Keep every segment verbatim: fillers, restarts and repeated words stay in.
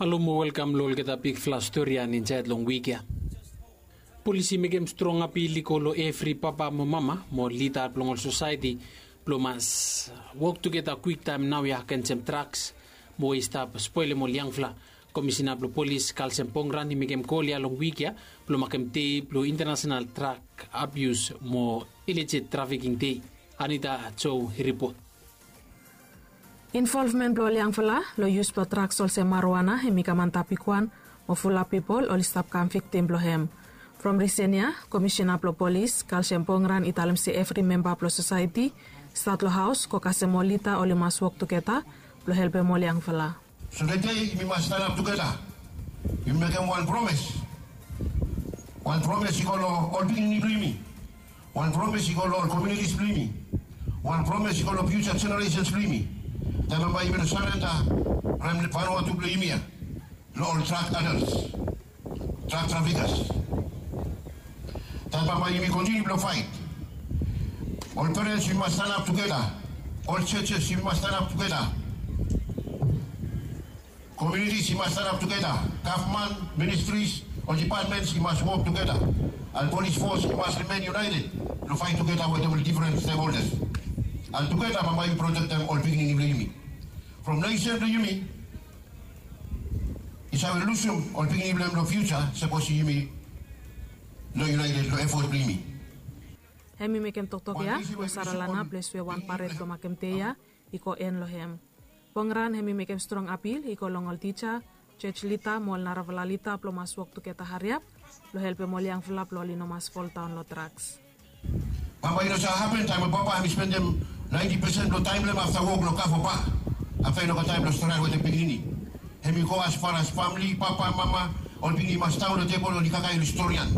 Alo mo welkam long olgeta bigfala stori ya insaed long wik ya. Polis i mekem strong apil i go long evri papa mo mama mo lida blong ol sosaeti blong mas wok tugeta kwiktaem naoia agensem draks mo we i stap spolem ol yangfala. Komisina blong polis Kalsem Pongran i mekem gol ya long wik ya blong makem dei blong International Drak Abius mo Ilejit Trafiking Dei. Anita Jo i ripot. Involvmen blong ol yangfala long yus blong draks olsem maruana hem i kam antap bigwan mo fulap pipol oli stap kam viktim blong hem. From risen ya, komisina blong polis Kalsem Pongran i talem se evri memba blong sosaeti, stat long haos go kasem ol lida oli mas wok tugeta blong helpem ol yangfala. So tede yumi mas stanap tugeta. Yumi mekem wan promes. Wan promes i go long ol pikinini blong yumi. Wan promes i go long ol komunitis blong yumi. Wan promes i go long fiuja jeneresens blong yumi. Taem bambae yumi no sarenda rem Vanuatu blong yumi ya long ol drak adels, drak trafikas. Taem bambae yumi kontiniu blong faet. Ol perens yumi mas stanap tugeta. Ol jejes yumi mas stanap tugeta. Komunitis i mas stanap tugeta. Gavman, ministris, ol dipatmens i mas wok tugeta. An polis fos i mas rimen yunaeted long faet tugeta wetem ol difren stekholdas. An tugeta bambae yumi protektem ol pikinini blong yumi. From nesen blong yumi i save lusum ol pikinini blong hem long fiuja sapos yumi no yunaeted long efot blong yumi. Hem i mekem toktok ya long Saralana, ples we wan paret blong makem dei ya i go en long hem. Pongran hem i mekem strong apil i go long ol tija, jos lida mo ol narafala lida blong mas wok tugeta hariap blong helpem ol yangfala blong oli no mas foldaon long draks. Bambae i no save hapen taem we papa hem i spendem naenti pesen blong taem blong hem afta wok long kava bak. Afta i no gat taem blong stret wetem pikinini. Hem i go as far as famili, papa, mama, ol pikinini i mas daon long tebol oli kakae oli storian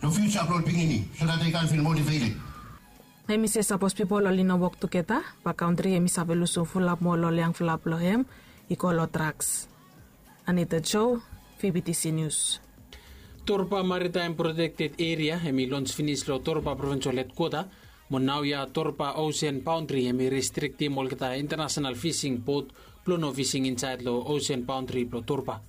long fiuja blong ol pikinini so dat dei kan fil motiveted. Hem i se sapos pipol oli no wok tugeta, bae kantri hem i save lusum fulap mo ol yangfala blong hem i go long draks. Anita Jo, V B T C News. Torba Maritime Protected Area hem i lons finis long Torba Provinsol Hedkwota, mo naoia Torba Ocean Boundary hem i restriktim olgeta internasenal fising bot blong no fising insaed long ocean boundary blong Torba.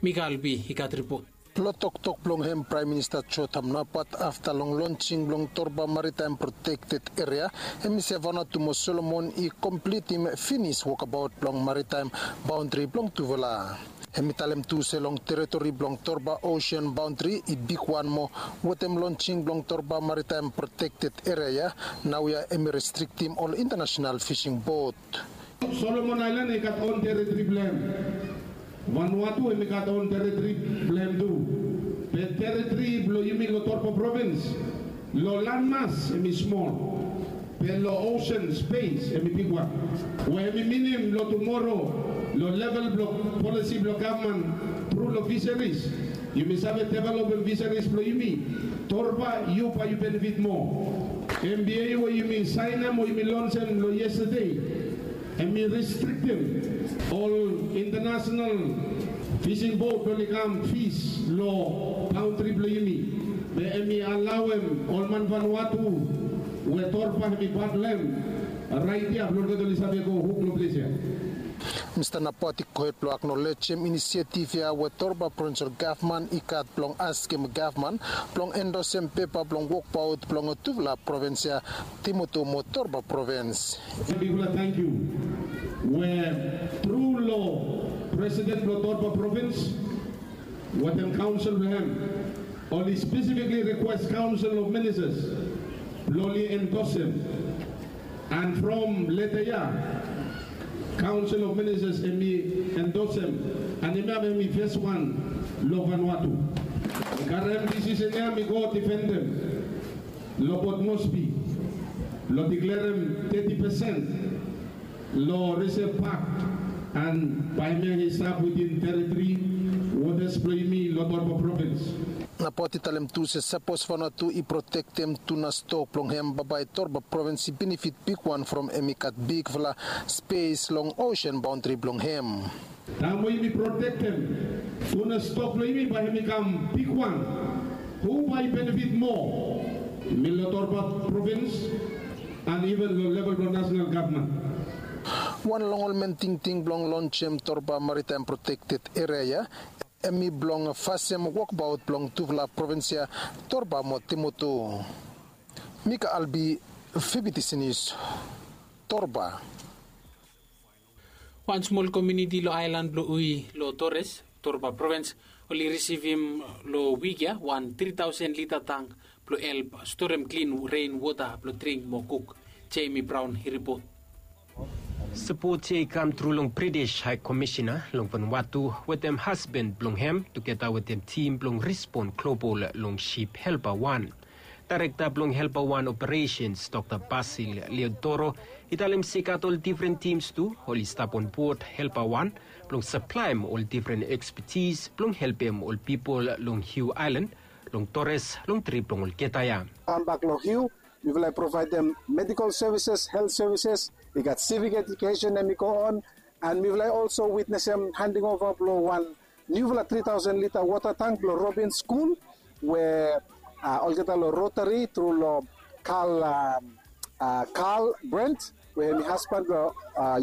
Mikael B i gat ripot. Long toktok blong hem, Praem Minista Jotham Napat, afta long lonsing blong Torba Maritime Protected Area, hem i se Vanuatu mo Solomon i komplitim finis wokabaot blong maritime baondri blong tufala. Hem i talem tu se long teritori blong Torba Ocean Boundary i bigwan moa wetem lonsing blong Torba Maritime Protected Area ya, naoia hem i restriktim ol internasenal fising bot. Solomon Aelan i gat on teritori blong hem. Vanuatu hem i gat on teritori blong hem tu. Be teritori blong yumi long Torba Provins, long lanmas hem i smol, be long osen spes hem i bigwan. We hem i minim long tumoro, long level blong polisi blong gavman tru long fiseris, yumi save developem fiseris blong yumi. Torba, yu bae yu benefit moa. M B A we yumi saenem o yumi lonsem long yestade, hem i restriktem ol internasenal fising bot blong oli kam fis long baondri blong yumi. Be hem i alaoem ol man Vanuatu we Torba hem i pat blong hem raet ya blong olgeta oli save go huk long ples ya. Mista Napat i gohed blong aknolejem inisiativ ya we Torba Provinsol Gavman i gat blong askem gavman blong endosem pepa blong wokbaot blong tufala provins ya, Tumoto mo Torba Provins. Bigfala tangkiu we tru long presiden blong Torba Provins wetem kaonsel blong hem, oli spesifik rikwes Kaonsel of Ministas blong oli endosem. And from leta ya, Kaonsel of Ministas hem i endosem, and hemia hem i fes wan long Vanuatu. Mi karem disisen ya mi go difendem long Port Moresby, long diklerem teti pesen long Resev Pak, and bae hemia i stap witin teritori wotas blong yumi long Torba Provins. Napat i talem tu se sapos Vanuatu i protektem tuna stok blong hem, bambae Torba Provins i benefit bigwan from hem i gat bigfala spes long osen baondri blong hem. Taem we yumi protektem tuna stok blong yumi, bae hem i kam bigwan. Hu bae i benefit moa? Yumi long Torba Provins and iven long level blong nasenal gavman. Wan long ol men tingting blong lonsem Torba Maritime Protected Area ya, hemi blong fasem wokbaot blong tufala provins ya, Torba mo Timutu. Mika Albi, Fibitisinis, Torba. Wan smol komuniti long aelan blong Ui long Torres, Torba provins, oli risivim long wik ya wan tri taosen lita tang blong help storem klin ren wota blong dring mo kuk. Jemi Braon i ripot. Sapot ya i kam tru long British High Commissioner long Vanuatu wetem hasban blong hem tugeta wetem tim blong Respond Global long sip Helper wan. Daerekta blong Helper wan Operations, Dokta Basil Leodoro, i talem se i gat ol difren tims tu oli stap onbod Helper wan blong saplaem ol difren ekspetis blong helpem ol pipol long Hiu Aelan, long Torres, long trip blong olgeta ya. Kambak long Hiu, mifala i provaedem medical services, health services, i gat civic education hemi go on, and mifala i also witnesem handing over blong wan niufala tri taosen lita wota tank blong Robin School, we olgeta long Rotary tru long Carl, Carl Brent, we hemi hasban blong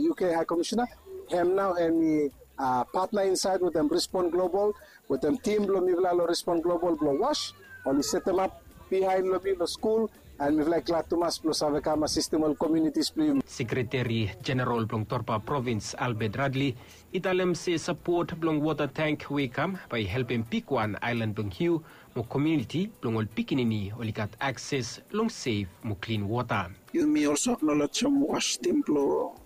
U K High Commissioner, hem nao hemi patna insaed wetem Respond Global, wetem tim blong mifala long Respond Global blong WASH, oli setemap bihaen long mi long skul, and mifala i glad tumas blong save kam asistem ol komunitis blong yumi. Sekreteri Jeneral blong Torba Provins, Albert Radley, i talem se sapot blong wota tank we i kam bae i helpem bigwan aelan blong Hiu mo komuniti blong ol pikinini oli gat akses long sef mo klin wota. Yumi olso aknolejem WASH tim blong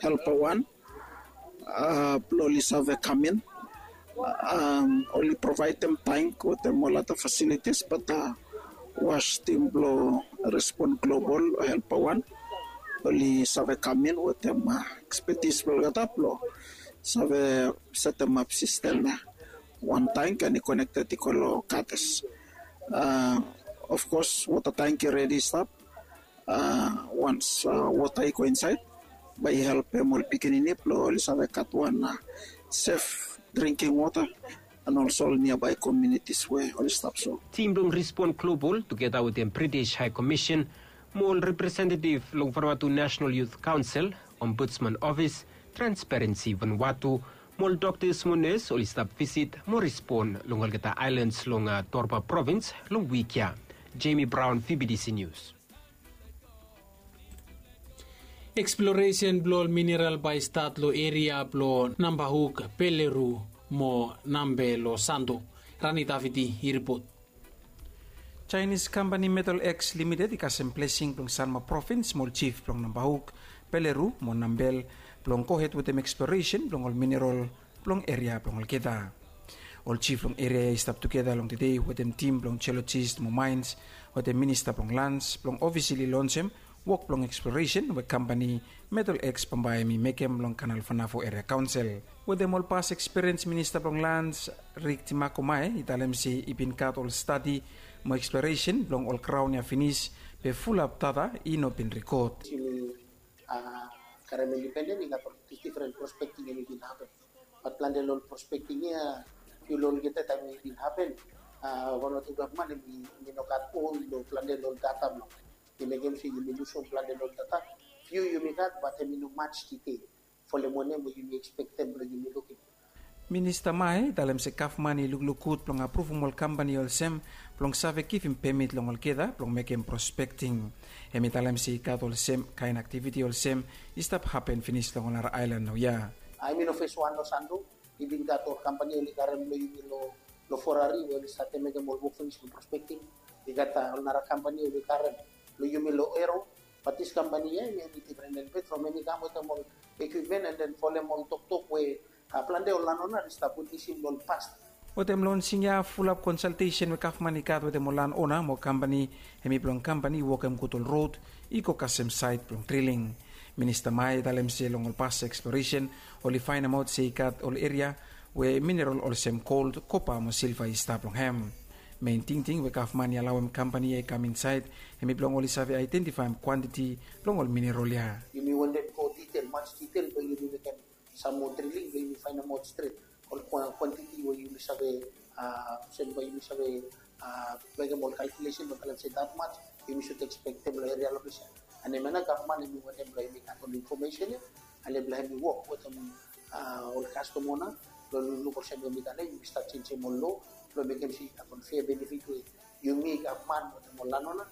Helper wan blong oli save kam in. Oli provaedem tank wetem ol ada fasilitis, bat WASH tim blong Respond Global, Helper wan, oli save kam in wetem ekspetis blong olgeta blong save setemap sistem ya. Wan tank and i konekted i go long gatas. Of kos wota tank i redi stap. Wans wota i go insaed, bae i helpem ol pikinini blong oli save gat wan sef dringking wota, and olso ol niabae komunitis we oli stap so. Tim blong Respond Global tugeta wetem British High Commission mo ol representetiv long Vanuatu National Youth Council, Ombudsman Ofis, Transparency Vanuatu, mo ol doktas mo nes oli stap visit mo respon long olgeta aelans long Torba Provins long wik ya. Jemi Braon, Fibitisi Nius. Eksploresen blong ol mineral bae i stat long eria blong Nambahuk, Peleru mo Nambe long Santo. Rani Daviti i ripot. Jaenis kampani Metal X Limited i kasem blesing blong Sanma Provins mo ol jif blong Nambahuk, Peleru mo Nambel blong gohed wetem eksploresen blong ol mineral blong eria blong olgeta. Ol jif long eria ya i stap tugeta long tede wetem tim blong jeolojis mo maens, wetem minista blong lans blong ofisili lonsem wok blong eksploresen we kampani Metal X bambae hemi mekem long Kanal Vanavo Eria Kaonsel. Wetem ol pas ekspiriens, minista blong lans Rik Timako Mae i talem se i bin gat ol stadi mo eksploresen blong ol graon ya finis, be fulap data i no bin rikod. Yumi karem indipenden, i gat ol difren prospekting hemi bin hapen. Bat plante long ol prospekting ya, fiu long olgeta taem i bin hapen, Vanuatu gavman hemi no gat on long plante long ol data blong. I mekem se yumi lusum plante long ol data. Fiu yumi gat, bat hemi no maj ditel folem wanem we yumi ekspektem blong yumi lukim. Minista Mae i talem se gavman i lukluk gud blong apruvum ol kampani olsem blong save givim pemit long olgeta blong mekem prospekting. Hemi talem se i gat olsem kaen aktiviti olsem i stap hapen finis long ol nara aelan naoia. Hemi no fes wan long Santo, i bin gat ol kampani oli karem long yumi long Forari we oli save mekem ol wok finis long prospekting. I gat ol nara kampani oli karem long yumi long Ero. Bat dis kampani ya hemi difren elbet from hemi kam wetem ol ekwipmen and then folem ol toktok we plante ol lanona oli stap witnesim long ol past. Wetem lonsing ya, fulap konsaltesen we gavman i gat wetem ol lanona mo kampani, hemi blong kampani i wokem gud ol rod i go kasem saet blong driling. Minista Mae i talem se long ol pas eksploresen oli faenemaot se i gat ol eria we mineral olsem gol, kopa mo silva i stap long hem. Mein tingting we gavman i alaoem kampani ya i kam insaed hemi blong oli save aedentifaem kwantiti blong ol mineral ya. Yumi wantem go ditel, maj ditel blong yumi mekem sam moa driling blong yumi faenemaot stret ol kwantiti we yumi save, olsem bae yumi save mekem ol kalkulesen blong talem se dat maj yumi sud ekspektem long eria long ples ya. And hemia nao gavman hemi wantem blong yumi gat ol infomesen ya Ale blong hemi wok wetem ol kastom ona blong lukluk olsem we mi talem yumi stap jenisim ol loa blong mekem se i gat wan fea benefit we yumi gat man wetem ol lanona.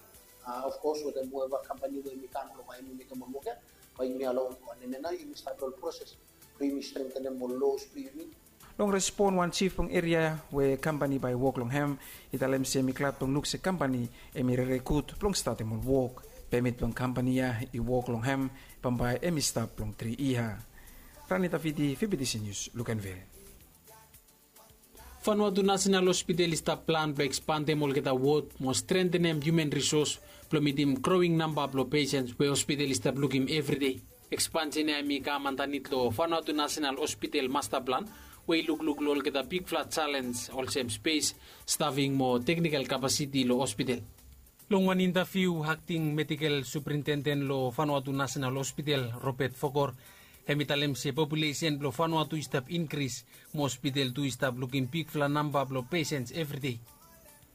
Of kos wetem whoever kampani we mi kam blong bae yumi mekem ol wok ya, bae yumi alaoem go. Ane nao yumi stap long ol proses blong yumi strengtenem ol loas blong yumi. Long respon, wan jif blong eria we kampani bae i wok long hem i talem se hemi glad blong luk se kampani hemi rere gud blong statem ol wok. Pemit blong kampani ya i wok long hem bambae hemi stap long tri yia. Rani Taviti, V B T C News, Luganville. Vanuatu National Hospital i stap plan blong ekspandem olgeta wod mo strentenem hiuman risos blong mitim growing namba blong pesens we hospital i stap lukim evri dei. Ekspansen ya hemi kam andanit long Vanuatu National Hospital masta plan we i lukluk long olgeta bigfala jalens olsem spes, stafing mo teknikal kapasiti long hospital. Long wan intaviu, akting medikel suprintenden long Vanuatu National Hospital, Robert Fokor, hemi talem se populesen blong Vanuatu i stap inkris mo hospital tu i stap lukim bigfala namba blong pesens evri dei.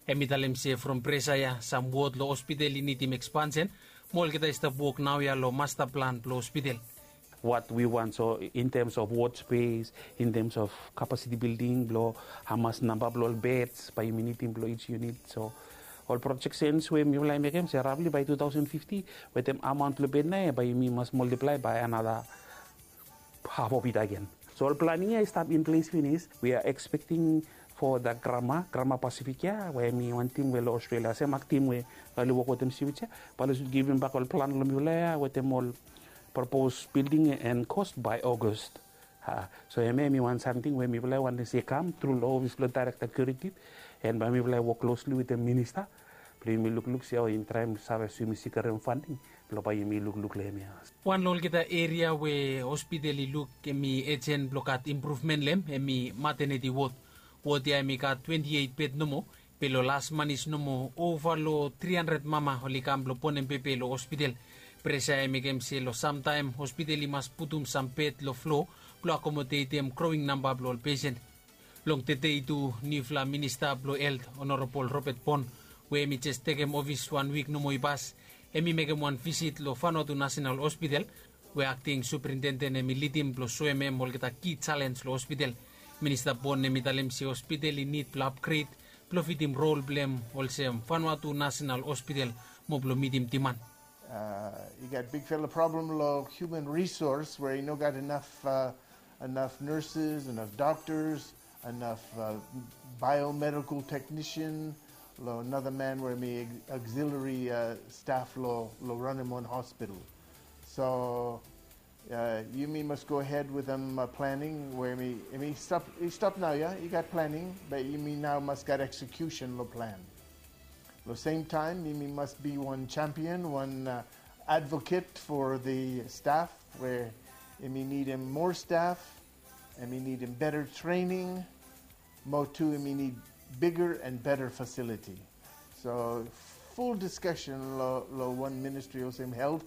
Hemi talem se from presa ya sam wod long hospital i nidim ekspansen mo olgeta i stap wok naoia long masta plan blong hospital. What we want, so in terms of ward space, in terms of capacity building, blong hamas namba blong ol beds bae yumi nidim blong each unit. So ol projections we mifala i mekem se roughly by two thousand fifty, wetem amount blong bed nao ya bae yumi mas multiply by another half of it again. So ol planning ya i stap in place finis. We are expecting for the Grama, Grama Pacific ya, we hemi wan tim we long Australia, sem akting we oli wok wetem Switch ya, bae oli should givim bak ol plan long mifala ya wetem ol proposed building and cost by August. So hemia hemi wan samting we mifala i wantem se i kam tru long ofis blong Director Curative, and bae mifala i wok closely wetem minista blong yumi lukluk se hao yumi traem save, so yumi sekiurem funding blong bae yumi lukluk long hemia. Wan long olgeta eria we hospital i luk hemi ejen blong gat impruvmen long hem hemi maternity ward. Ward ya hemi gat twenti eit bed nomo, be long las manis nomo ova long tri handred mama oli kam blong bonem bebe long hospital. Presa ya i mekem se long samtaem hospital i mas putum sam bed long flo blong akomodetem growing namba blong ol pesen. Long tedei tu, niufala minista blong helt, Honorable Robert Bon, we hemi jes tekem ofis wan wik nomo i pas, hemi mekem wan visit long Vanuatu National Hospital, we akting suprintenden hemi lidim blong soem hem olgeta ki jalens long hospital. Minista Bon hemi talem se hospital i nid blong apgred blong fitim rol blong hem olsem Vanuatu National Hospital mo blong mitim diman. Uh, i gat bigfala problem long human resource we i no gat enough, uh, enough nurses, enough doctors, enough, uh, biomedical technician, long another man we hemi auxiliary, uh, staff long, long ranem wan hospital. So uh, yumi mas go ahed wetem, uh, planning we hemi, hemi stap, i stap naoia, i gat planning, be yumi nao mas gat execution long plan. Long semtaem yumi mas bi wan champion, wan, uh, advocate for the staff we hemi nidim moa staff, hemi nidim better training, mo tu hemi nid bigger and better facility. So full discussion long, long wan ministri olsem helt,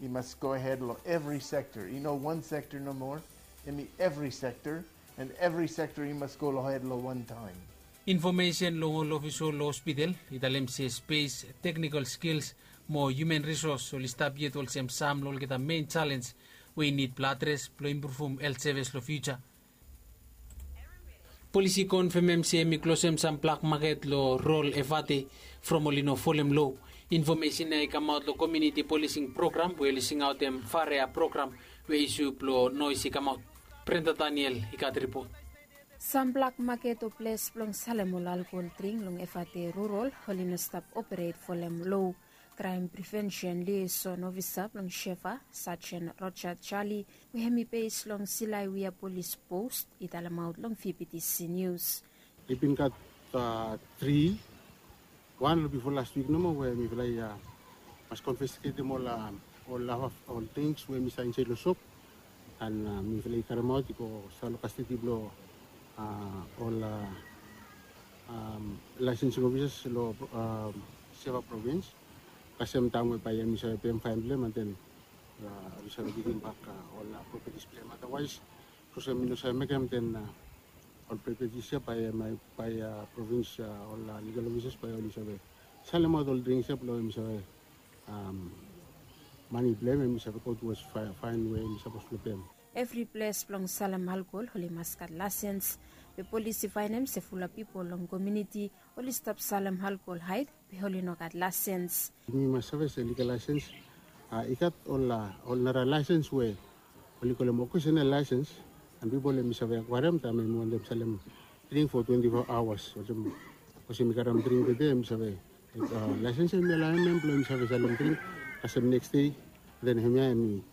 i mas go ahed long evri sektor. I no wan sektor nomo, hemi evri sektor, and evri sektor i mas go ahed long wan taem. Infomesen long ol ofisol long hospital i talem se spes, teknikol skils mo hiuman risos oli stap yet olsem sam long olgeta mein jalens we i nid blong adres blong impruvum helt sevis long fiuja. Polis i konfemem se hemi klosem sam blak maket long Rurol, Efate from oli no folem loa. Infomesen ya i kamaot long komuniti polising program we oli singaotem Farea program we isu blong noes i kamaot. Brenda Daniel i gat ripot. Sam blak maket o ples blong salem ol alkohol dring long Efate Rurol oli no stap operet folem loa. Kraem Privensen Liaison Ofisa blong Shefa, Sajen Roja Jali, we hemi bes long Silaiwia Polis Pos, i talemaot long V B T C Nius. I bin gat, a, tri, wan long bifo las wik nomo we mifala i, a, mas konfisketem ol, a, ol haf, ol tings we hemi save insaed long sop, an, a, mifala i karemaot i go stap long kastedi blong, a, ol, a, laesensing ofisas long, a, Shefa provins. Kasem taem we bae hemi save pem faen blong hem, an den, a, oli save givim bak, a, ol, a, propetis blong hem. Adawaes, sapos hemi no save mekem, den, a, ol propetis ya bae, a, bae, a, provins, a, ol, a, ligal ofisas bae oli save salemaot ol drings ya blong hemi save, am, Mani blong hem hem i save go tuwas faen we hem i sapos blong pem. Evri ples blong salem alkohol oli mas gat laesens. Be polis i faenem se fulap pipol long komuniti oli stap salem alkohol haed be oli no gat laesens. Yumi mas save se likel laesens i gat ol nara laesens we oli kolem okesenal laesens. An pipol hem i save akwarem taem hem i wantem salem dring fo twenti fo aoas olsem. Olsem i karem dring tede hem i save laesens hem i alaem hem blong hem i save salem dring kasem neks dei. Den hemia hem i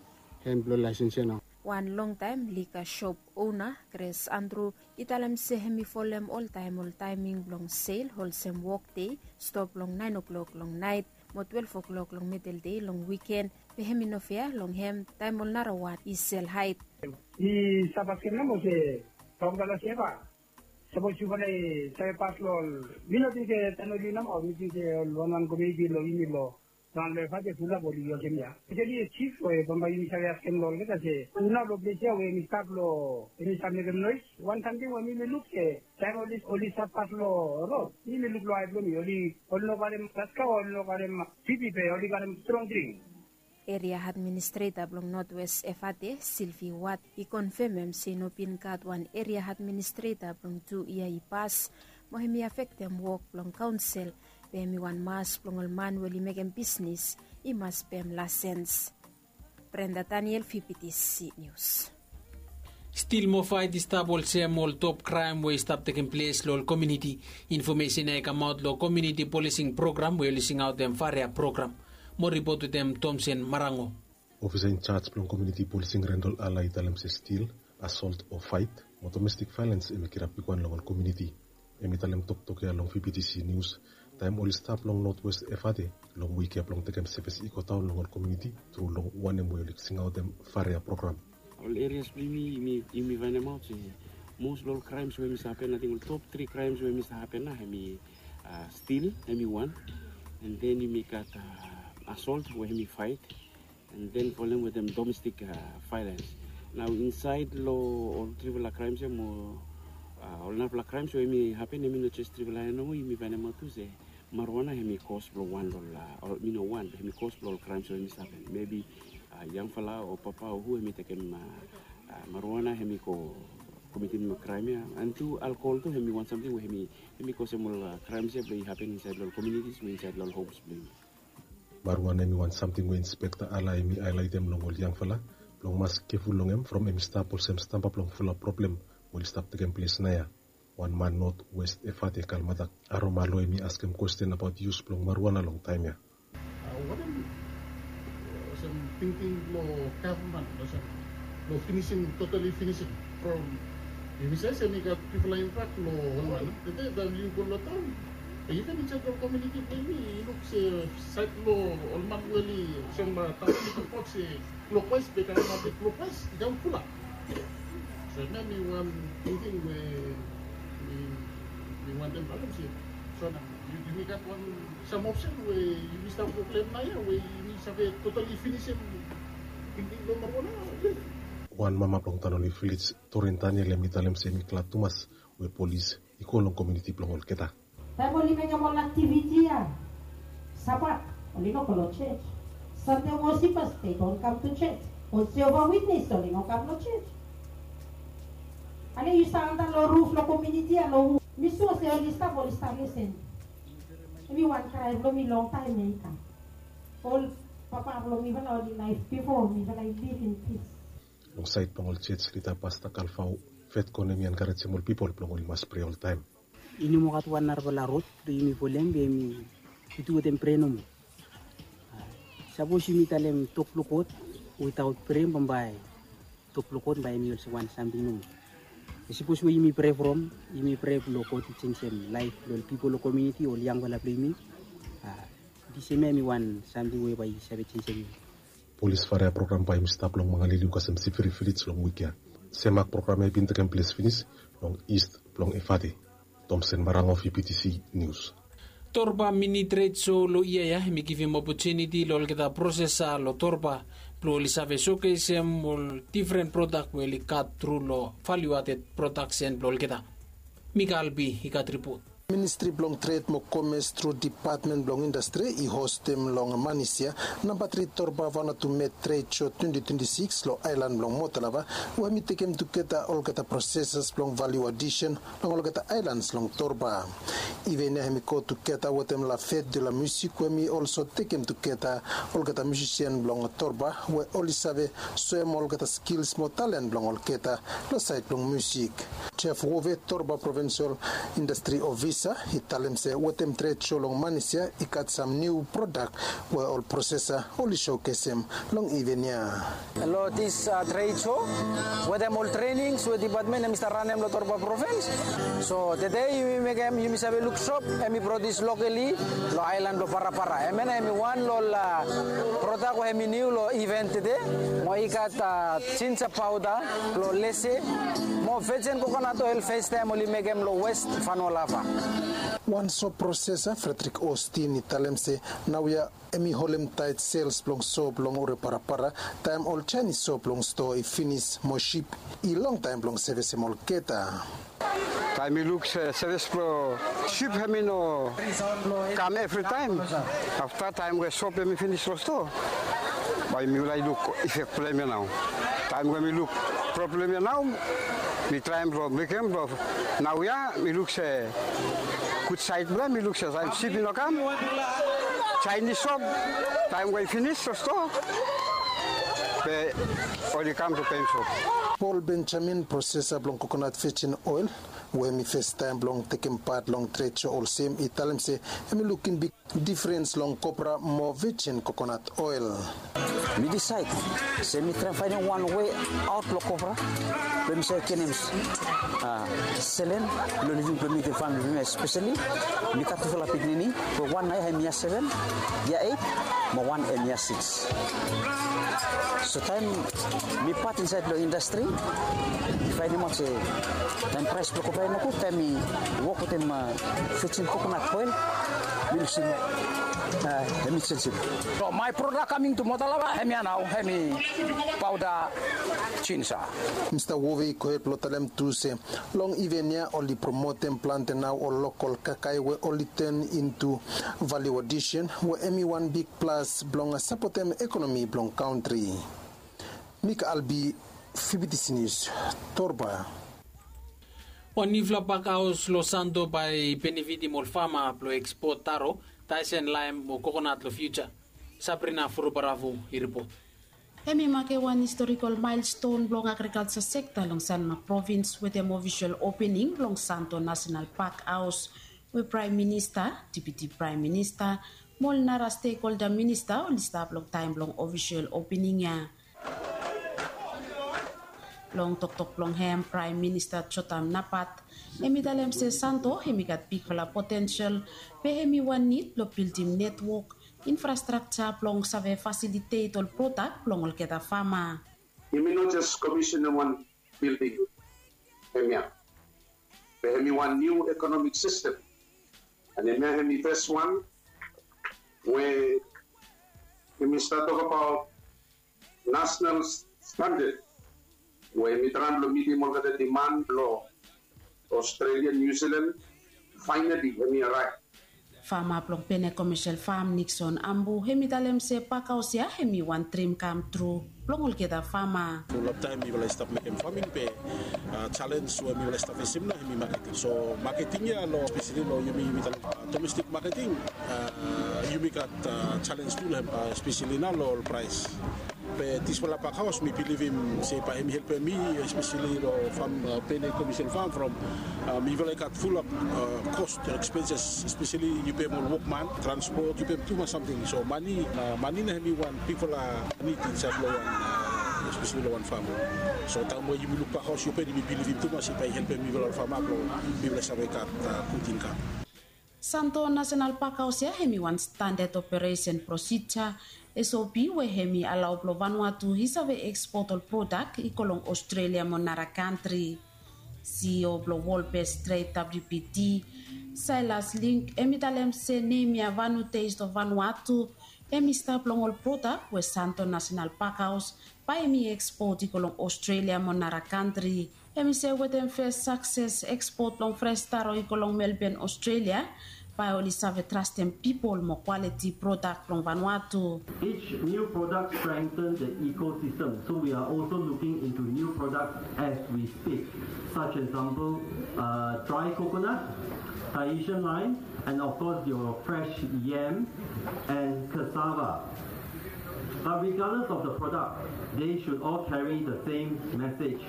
hen blong laesens ya nao. Wan longtaem lika sop ona Gres Andru i talem se hem i folem oltaem ol taeming blong sel olsem wokdei stop long naen o'klok long naet mo twelef o'klok long midel dei long wiken. Be hem i no fea long hem taem ol narawan i sel haed. I stap askem nao se, paukala seva, sapos yufala i save pas long ol, mi no ting se taem oli nao mi ting se ol wanwan komuniti long yumi long, long ol efate fulap oli olsem ya. Actually, sif we bambae yumi save askem long olgeta se, hu nao long ples ya we hem i stap long hem i stap mekem noes? Wan samting we mi mi luk se taem oli oli stap pas long rod, mi mi luk long ae blong mi oli oli no karem gaska, oli no karem pipi be oli karem strong dring. Eria administreta blong notwes efate silvi wat i konfemem se i no bin gat wan eria administreta blong tu yia i pas mo hem i afektem wok blong kaonsel. Be hem i wan mas blong ol man we oli mekem bisnis i mas pem lasens. Brenda Daniel, V P T C News. Stil moa faet i stap olsem ol top kraem we i stap tekem ples long ol komiuniti. Infomesen ya i kamaot long komiuniti polising program we oli singaotem Farea program. Mo ripot wetem Tomsen Marango. Ofisa in charge blong komiuniti polising Rendol Ala i talem se stil, asolt o faet mo domestik vaelens hem i kirap bigwan long ol komiuniti. Hem i talem toktok ya long V P T C Nius taem oli stap long notwes Efate long wik ya blong tekem sevis i go daon long ol komiuniti tru long wanem we oli singaotem Farea program. Ol erias blong yumi yumi faenemaot se mos long ol kraems we hem i stap hapen, ating ol top tri kraems we hem i stap hapen nao hem i stil, hem i wan, an den yumi gat asolt we hem i faet, an den folem wetem domestik vaelens. Nao insaed long ol trifala kraems ya mo ol narafala kraems we hem i hapen, hem i no jes trifala ya nomo. Yumi faenemaot tu se marijuana hem i kos blong wan long ol, mi no wan, hem i kos blong ol kraems we hem i stap hapen. Mebi yangfala o papa o hu hem i tekem marijuana hem i go komitim kraem ya. An tu alkohol tu hem i wan samting we hem i kosem ol kraems ya blong i hapen insaed long ol komiunitis mo insaed long ol homs blong yumi. Marijuana hem i wan samting we inspekta Ala hem i haelaetem long ol yangfala blong mas keful long hem from hem i stap olsem stamba blong fulap problem we oli stap tekem ples naoia. Wan man notwes Efate Kalmatak Aromalo hem i askem kwesten abaot yus blong marijuana long taem ya. Wanem olsem tingting blong gavman olsem blong finisim, totali finisim from yumi save se hem i gat bigfala impak long ol man. Tede taem yu go long taon, iven insaed long komiuniti blong yumi yu luk se saed blong ol man we oli olsem taon i toktok se klokwaes be i kam aote klokwaes i kam fulap. So hemia hem i wan tingting we mi wantem talem se, so nao yumi gat wan sam opsen we yumi stap go klem naoia we yumi save totali finisim tingting blong marijuana. Wan mama blong Tanoli Vilej, Torin Daniel, hem i talem se hem i glad tumas we polis i go long komiuniti blong olgeta. Taem oli mekem ol aktiviti ya, Sabat oli no go long jos. Sande wosip, they don't come to church. Ol Jehovah Witness oli no kam long jos. Ale yu stap antap long ruf long komiuniti ya long hu? Mi sua se oli stap, oli stap lisen. Hem i wan krae blong mi longtaem ya i kam. Ol papa blong mifala oli laef bifo, mifala i liv in pis. Long saed blong ol jos lida, Pasta Kalvao Fetcon hem i enkarejem ol pipol blong oli mas prea oltaem. I no moa gat wan narafala rod blong yumi folem be yumi tu wetem prea nomo. Sapos yumi talem tok blong God witaot prea, bambae tok blong God bae hem i olsem wan samting nomo. Be sapos we yumi prea from, yumi prea blong God i jenisim laef blong ol pipol long komiuniti, ol yangfala blong yumi. Disem ya hem i wan samting we bae i save jenisim yumi. Polis Farea program bae hem i stap long Mangaliliu kasem Siviri Vilej long wik ya. Semak program ya i bin tekem ples finis long ist blong Efate. Tomsen Marango, V P T C Nius. Torba Mini Tred So long yia ya hem i givim opotuniti long olgeta prosesa long Torba blong oli save sokesem ol difren prodak we oli gat tru long valiuaded prodaksen blong olgeta. Mika Albi i gat ripot. Ministri blong Tred mo Komes tru Depatmen blong Indastri i hostem long Manis ya namba tri Torba Vanuatu Med Tred Sho twenti twenti sikis long aelan blong Motalava, we hem i tekem tugeta olgeta prosesas blong valiu adisen long olgeta aelans long Torba. Iven ya hem i go tugeta wetem La Fête de la Musique we hem i olso tekem tugeta olgeta musisian blong Torba we oli save soem olgeta skils mo talen blong olgeta long saed blong musik. Jeff Wove, Torba Provinsol Indastri Ofisa, i talem se wetem tred sho long Manis ya i gat sam niu prodak we ol prosesa oli showkesem long iven ya. Long dis tred sho wetem ol trenings we depatmen hem i stap ranem long Torba Provins. So tede yumi mekem yumi save luk sop hem i produs lokali long aelan blong Parapara. Hemia nao hem i wan long ol prodak we hem i niu long iven tede. Mo i gat jinja paoda blong lese mo vejen kokonat oel festaem oli mekem long West Vanualava. Wan sop prosesa Frederick Ostin i talem se naoia hem i holem taet sels blong sop long ol Parapara taem ol Jaenis sop blong stoa i finis mo sip i longtaem blong sevesem olgeta. Taem mi luk se sevis blong sip hem i no kam evritaem. Afta taem we sop hem i finis long stoa, bae mifala i luk ifek blong hem ya nao. Taem we mi luk problem ya nao, mi traem blong mekem blong naoia mi luk se gud saed blong hem mi luk se taem sip i no kam, Jaenis sop taem we i finis long stoa be oli kam blong peim sop. Paul Benjamin, prosesa blong kokonat vejen oel we hem i festaem blong tekem pat long tred sho olsem, i talem se hem i lukim big difrens long kopra mo vejen kokonat oel. Mi disaed se mi traem faenem wan wei aot blong kopra blong mi save genem selen blong living blong mi wetem famili blong mi, espeseli mi gat tufala pikinini we wan naoia hem yia seven, yia eit, mo wan hem yia sikis. So taem mi pat insaed long indastri, mi faenemaot se taem praes blong kopra i nogud, taem mi wok wetem vejen kokonat oel, mi lusim hem i jenjem. So maet prodak kaming tu Motalava hem ya nao hem i paoda jinja. Mista Wove i gohed blong talem tu se long iven ya oli promotem plante nao ol lokol kakae we oli ten intu valiu adisen we hem i wan big plas blong sapotem ekonomi blong kantri. Mika Albi, Fibitisi Nius, Torba. Wan niufala pakhaos long Santo bae i benefitim ol fama blong ekspot taro, taesen, laem mo kokonat long fiuja. Sabrina Furubaravu i ripot. Hem i makem wan historikol maelston blong agrikalja sekta long Sanma Provins wetem ofisol opening blong Santo Nasenal Pakhaos we Praem Minista, Deputi Praem Minista mo ol nara stekholda minista oli stap long taem blong ofisol opening ya. Long toktok blong hem, Praem Minista Jotam Napat hem i talem se Santo hem i gat bigfala potensel be hem i wan nid blong bildim netwok infrastrakja blong save fasilitet ol prodak blong olgeta fama. Yumi no jes komisenem wan bilding hemia, be hem i wan niu ekonomik sistem. An hemia hem i fes wan we yumi stap tokbaot nasenal standad we hem i traem blong mitim olgeta diman blong Australia, New Zealand, finally hem i araev. Fama blong Pene Commercial Farm, Nixon Ambu, hem i talem se pakhaos ya hem i wan drim kam tru blong olgeta fama. Fulap taem mifala i stap mekem faming be, a, jalenj we mifala i stap fesem nao hem i maketing. So maketing ya long, espeseli long yumi, yumi talem, a, domestik maketing, a, yumi gat, a, jalenj tu long hem, a, espeseli nao long ol praes. Be disfala pakhaos mi bilivim se bae hem i helpem mi, espeseli long fam, a, Pene Commercial Farm from, a, mifala i gat fulap, a, kos, ekspenses, espeseli yu pem ol wokman, transpot, yu pem tumas samting. So mane, a, mane nao hem i wan bigfala nid insaed long wan, a, espeseli long wan fam. So taem we yumi luk pakhaos ya, yumi bilivim tumas se bae i helpem mifala ol fama blong mifala save gat, a, gud inkam. Santo Nasenal Pakhaos ya hem i wan standad operesen prosija, S O P, we hem i alao blong Vanuatu i save ekspot ol prodak i go long Australia mo nara kantri. C E O blong World Best Trade, W B T, Silas Link, hem i talem se nem ya Vanu Taste of Vanuatu hem i stap long ol prodak we Santo Nasenal Pakhaos bae hem i ekspot i go long Australia mo nara kantri. Hem i se wetem fes sakses ekspot blong fres taro i go long Melbourne, Australia, bae oli save trastem pipol mo kwaliti prodak blong Vanuatu. Each new product strengthens the ecosystem, so we are also looking into new products as we speak, such as example, uh, dry coconut, Tahitian lime, and of course your fresh yam and cassava. But regardless of the product, they should all carry the same message.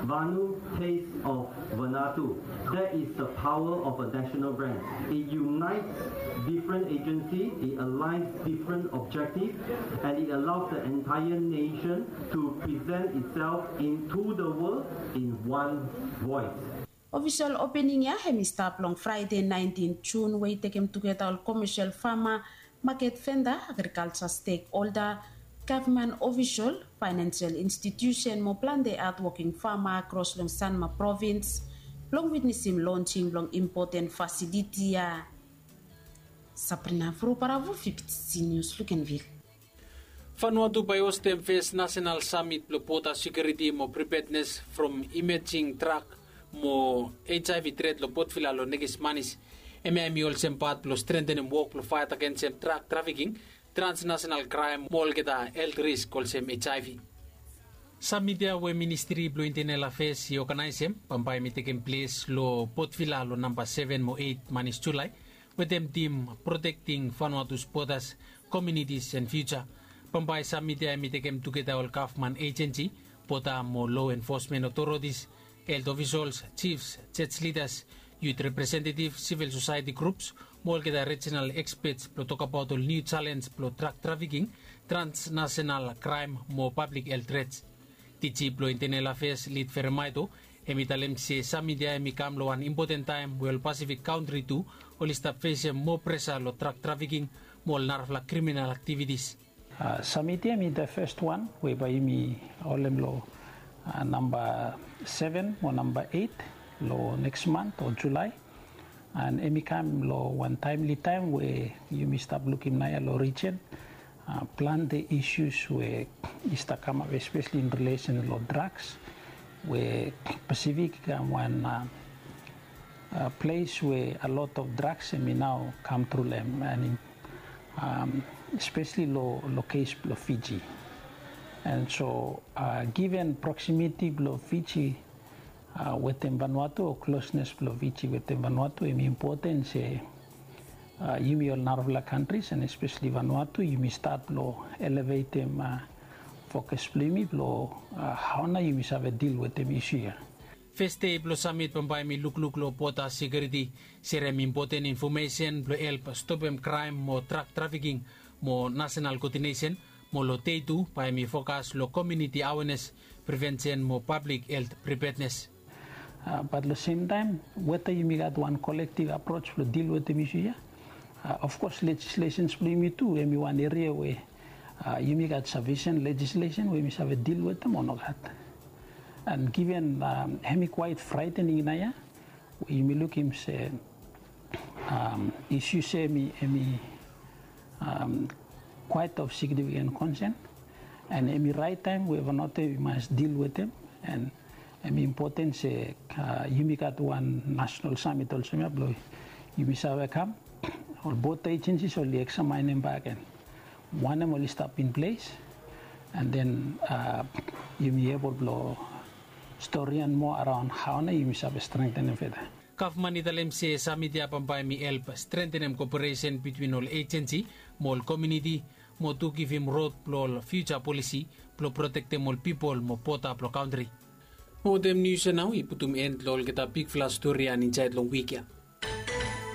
Vanu, taste of Vanuatu. That is the power of a national brand. It unites different agencies, it aligns different objectives, and it allows the entire nation to present itself into the world in one voice. Ofisol opening ya hem i stap long Fraede naentin Jun, we i tekem tugeta ol komesel fama, maket venda, agrikalja stekholda, gavman ofisol, faenensel institusen mo plante hatwoking fama akros long Sanma provins blong witnesim lonsing blong impoten fasiliti ya. Sabrina Furuparavu, Fifty News, Lukenville. Vanuatu bae i hostem fes nasenal samit blong bota sekiuriti mo pripednes from imejing drak mo HIV tret long Port Vila long nekis manis. Hemia hem i olsem pat blong strentenem wok blong faet agensem drak trafiking, transnasenal kraem mo olgeta helt risk olsem HIV. Samit ya we Ministri blong Intenel Afes i oganaesem bambae hem i tekem ples long Port Vila long namba seven mo eit manis Julae, wetem tim Protecting Vanuatu's Borders, Communities and Future. Bambae samit ya hem i tekem tugeta ol gavman ejensi, bota mo lo enfosmen otoritis, helt ofisols, jifs, jej lidas, yut representetif, sivil sosaeti grups mo olgeta rijinal ekspets blong tokbaot ol niu jalenj blong drak trafiking, transnasenal kraem mo pablik helt trets. Diji blong Intenel Afes, Lid Feremaeto, hem i talem se samit ya hem i kam long wan impoten taem we ol Pasifik kantri tu oli stap fesem moa presa long drak trafiking mo ol narafala kriminal aktivitis. Samit ya hem i the fes wan we bae yumi holem long namba seven o namba eit long neks man o Julae. And hem i kam long wan taemli taem we yumi stap lukim naoia long rijen, plante isus we i stap kamap, espesli in rilesen long draks, we Pasifik i kam wan ples we a lot of draks hem i nao kam tru long hem, and espesli long kes blong Fiji. And so given proximity blong Fiji wetem Vanuatu o klosnes blong Fiji wetem Vanuatu, hem i impoten se yumi ol narafala kantris and espesli Vanuatu yumi stat blong elevetem fokas blong yumi blong hao nao yumi save dil wetem isu ya. Fes dei blong samit bambae hem i lukluk long bota sekiuriti, serem impoten infomesen blong help stopem kraem mo drak trafiking mo nasenal koodinesen, mo long dei tu bae hem i fokas long komuniti awenes, privensen mo pablik helt pripednes. Bat long semtaem weta yumi gat wan kolektiv aproj blong dil wetem isu ya. Ofkos lejislesens blong yumi tu hem i wan eria we yumi gat safisen lejislesen we yumi save dil wetem o nogat. And given hem i kwaet fraetening naoia, we yumi lukim se isus ya hem i kwaet of signifiken konsen, and hem i raet taem we Vanuatu i mas dil wetem. And hem i impoten se yumi gat wan nasenal samit olsem ya blong yumi save kam, ol bota ejensis oli eksamaenem bak gen wanem oli stap in ples, and then yumi ebol blong storian moa araon hao nao yumi save strengtenem feda. Gavman i talem se samit ya bambae hem i help strentenem koperesen bitwin ol ejensi mo ol komuniti, mo tu givim rod blong ol fiuja polisi blong protektem ol pipol mo bota blong kantri. Mo wetem nius ya nao i putum en long olgeta bigfala stori ya insaed long wik ya.